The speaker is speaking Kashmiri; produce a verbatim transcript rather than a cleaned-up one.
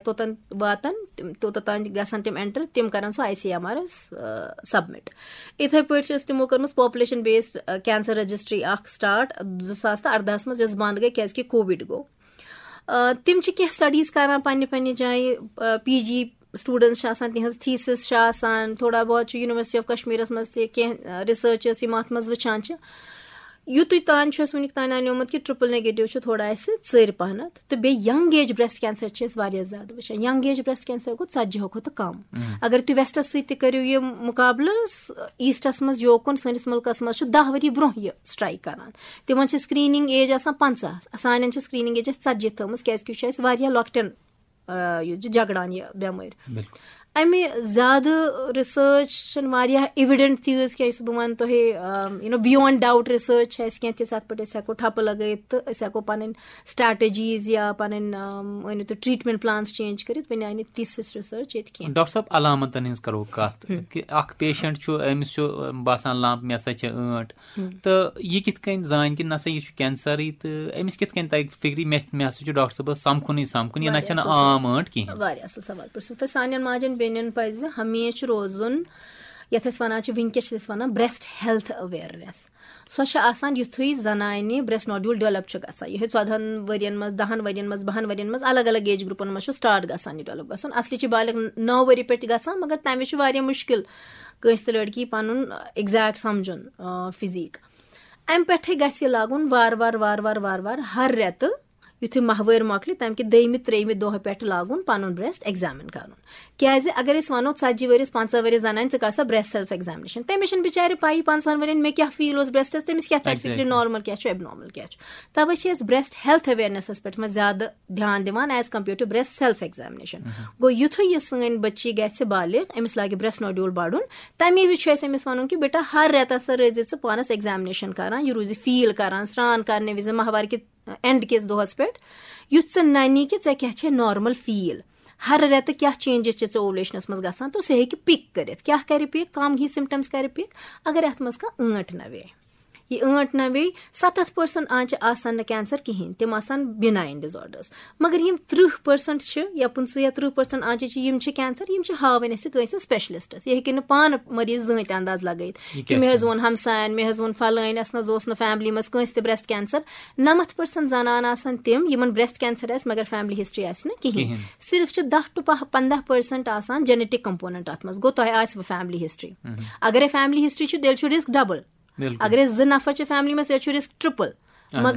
توٚتَن واتان، تِم، توٚتَتھ تام گژھان تِم اٮ۪نٹَر، تِم کَران سُہ آی سی ایم آرَس سَبمِٹ۔ یِتھَے پٲٹھۍ چھِ أسۍ تِمو کٔرمٕژ پاپولیشَن بیسڈ کینسر رجسٹری اَکھ سٹارٹ زٕ ساس تہٕ اَردَہَس منٛز، یۄس بنٛد گٔے کیٛازِکہِ کووِڈ گوٚو۔ آ، تِم چھِ کینٛہہ سٹڈیٖز کَران پنٛنہِ پنٛنہِ جایہِ، پی جی سٹوٗڈنٛٹس چھِ آسان، تِہٕنٛز تھیٖسِس چھِ آسان، تھوڑا بہت چھُ یونیورسٹی آف کشمیٖرَس منٛز تہِ کینٛہہ ریسرچ یِم اَتھ منٛز وٕچھان چھِ۔ یُتُے تام چھُ اَسہِ وٕنیُک تام انیومُت کہِ ٹرپل نیگیٹو چھُ تھوڑا اَسہِ ژٔرۍ پہنتھ، تہٕ بیٚیہِ ینگ ایج بریسٹ کینسر چھِ اَسہِ واریاہ زیادٕ وٕچھان۔ ینگ ایج بریسٹ کینسر گوٚو ژتجی ہو کھۄتہٕ کم۔ اگر تُہۍ ویسٹس سۭتۍ تہِ کٔرِو یہِ مقابلہٕ، س-، ایسٹس منٛز یوکُن سٲنِس مُلکس منٛز چھُ دَہ ؤری برونٛہہ یہِ سٹرائک کران۔ تِمن چھِ سکریننگ ایج آسان پنٛژاہ، سانٮ۪ن چھِ سکریننگ ایج اَسہِ ژتجی تھٲومٕژ، کیازِ کہِ یہِ چھُ اَسہِ واریاہ لۄکٹٮ۪ن، آ، یہِ چھُ جگڑان یہِ بٮ۪مٲرۍ۔ بالکل۔ اَمہِ زیادٕ ریسرچ چھِنہٕ واریاہ ایویڈنٹ چیٖز کینٛہہ، یُس بہٕ وَنہٕ تۄہہِ، یوٗ نو، بیونڈ ڈاؤٹ ریسرچ چھِ اَسہِ کینٛہہ تِژھ، اَتھ پٮ۪ٹھ أسۍ ہٮ۪کو ٹھپہٕ لگٲیِتھ تہٕ أسۍ ہٮ۪کو پَنٕنۍ سٹریٹجیٖز یا پَنٕنۍ، آم، ؤنِو تُہۍ، ٹریٹمنٹ پلانس چینج کٔرِتھ۔ وۄنۍ آیہِ نہٕ تِژھ ریسرچ ییٚتہِ کینٛہہ۔ ڈاکٹر صٲب، علامتن ہٕنٛز کرو کتھ، ہم۔ کہِ اکھ پیشنٹ چھُ، أمِس چھُ، آم، باسان لمپ، مےٚ ہسا چھِ ٲنٹ، ہم۔ تہٕ یہِ کِتھ کٔنۍ زانہِ کہِ نہ سا یہِ چھُ کینسرٕے، تہٕ أمِس کِتھ کٔنۍ تَگہِ فِکرِ، مےٚ، مےٚ ہسا چھُ ڈاکٹر صٲبس سمکھُنٕے سمکھُن، یہِ نہ واریاہ چھَنہٕ اَصٕل سوال۔ عام ٲنٹ کِہیٖنۍ؟ واریاہ اَصٕل سوال پرٛژھوٕ تۄہہِ۔ سانٮ۪ن ماجٮ۪ن بیٚنٮ۪ن پَزِ ہمیشہِ روزُن، یَتھ أسۍ وَنان چھِ، وٕنکیٚس چھِ أسۍ وَنان بریسٹ ہیلتھ اویرنیس۔ سۄ چھِ آسان یُتھُے زنانہِ بریسٹ نوڈیول ڈیولپ چھُ گژھان، یِہوٚے ژۄدہَن ؤرِین منٛز، دَہَن ؤرِین منٛز، بَہَن ؤرِین منٛز، الگ الگ ایج گروپن منٛز چھُ سٹارٹ گژھان یہِ ڈیولپ گژھُن۔ اصلی چھِ بالغ نَو ؤری پٮ۪ٹھ گژھان، مگر تَمہِ وِزِ چھُ واریاہ مُشکِل کٲنٛسہِ تہِ لڑکی پَنُن ایگزیکٹ سَمجھُن، آ، فِزیٖک۔ اَمہِ پٮ۪ٹھٕے گژھِ یہِ لاگُن وارٕ وارٕ، وارٕ وارٕ، وارٕ وارٕ، ہر رٮ۪تہٕ، یُتھُے ماہوٲرۍ مۄکلہِ، تَمہِ کہِ دوٚیمہِ، ترٛیٚیِمہِ دۄہ پٮ۪ٹھ لاگُن پَنُن بریسٹ ایگزامِن کَرُن۔ کیٛازِ اگر أسۍ وَنو، ژتجی ؤرِیَس، پنٛژاہ ؤرِیَس زَنانہِ، ژٕ کَر سا بریسٹ سیلف ایگزامنیشن، تٔمِس چھَنہٕ بِچارِ پَیی پنٛژاہَن ؤرِیَن مےٚ کیٛاہ فیٖل اوس بریسٹَس، تٔمِس کیٛاہ تَگہِ فِکرِ، exactly، نارمل کیٛاہ چھُ، ایبنارمل کیٛاہ چھُ۔ تَوَے چھِ أسۍ بریسٹ ہیلتھ اویرنیسَس پٮ۪ٹھ منٛز زیادٕ دھیان دِوان as compare to breast self examination۔ گوٚو، یُتھُے یہِ سٲنۍ بٔچی گژھِ بالغ، أمِس لاگہِ بریسٹ نوڈیول بڑُن، تَمے وِزِ چھُ اَسہِ أمِس وَنُن کہِ بیٹا، ہر رٮ۪تَس سا روزِ ژٕ پانَس ایگزامنیشن کران، یہِ روزِ فیٖل کران، سرٛان کرنہٕ وِزِ ماہوار کہِ اینڈ کِس دۄہَس پٮ۪ٹھ، یُتھ ژٕ نَنی کہِ ژےٚ کیٛاہ چھے نارمل فیٖل، ہر رٮ۪تہٕ کیٛاہ چینجز چھِ ژےٚ اوولیشنَس منٛز گژھان، تہٕ سُہ ہیٚکہِ پِک کٔرِتھ۔ کیٛاہ کَرِ پِک؟ کَم ہی سمپٹمز کَرِ پِک۔ اگر اَتھ منٛز کانٛہہ ٲنٹ نہ وے، یہِ ٲنٹ نہ وے، ستتھ پٔرسنٹ آنچہِ آسن نہٕ کینسر کِہینۍ، تِم آسن بِناین ڈِزآرڈرز۔ مگر یِم ترٕٛہ پٔرسنٹ چھِ یا پٕنٛژٕہ یا ترٕٛہ پٔرسنٹ آنچہِ چھِ، یِم چھِ کینسر، یِم چھِ ہاوٕنۍ اَسہِ کٲنٛسہِ سپیشلسٹس۔ یہِ ہیٚکہِ نہٕ پانہٕ مریض زٕہٕنۍ تہِ انداز لگٲیِتھ یہِ کہِ کیٛاہ مےٚ حظ چھُ؟ ووٚن ہمساین، مےٚ حظ ووٚن فلٲنۍ، اَسہِ نہ حظ اوس نہٕ فیملی منٛز کٲنٛسہِ تہِ بریسٹ کینسر۔ نَمَتھ پٔرسنٹ زنان آسن تِم، یِمن بریسٹ کینسر آسہِ مگر فیملی ہسٹری آسہِ نہٕ کِہینۍ۔ کِہینۍ۔ صرف چھِ دَہ to پنٛداہ پٔرسنٹ آسان جینیٹک کمپوننٹ اتھ منٛز۔ گوٚو، تۄہہِ آسہِ فیملی ہسٹری۔ اگرے فیملی ہسٹری چھِ، تیٚلہِ چھُ رسک ڈبل۔ بِلکُل۔ اگرے زٕ نفر چھِ فیملی منٛز، تیٚلہِ چھُ رسک ٹرپل۔ اہن حظ۔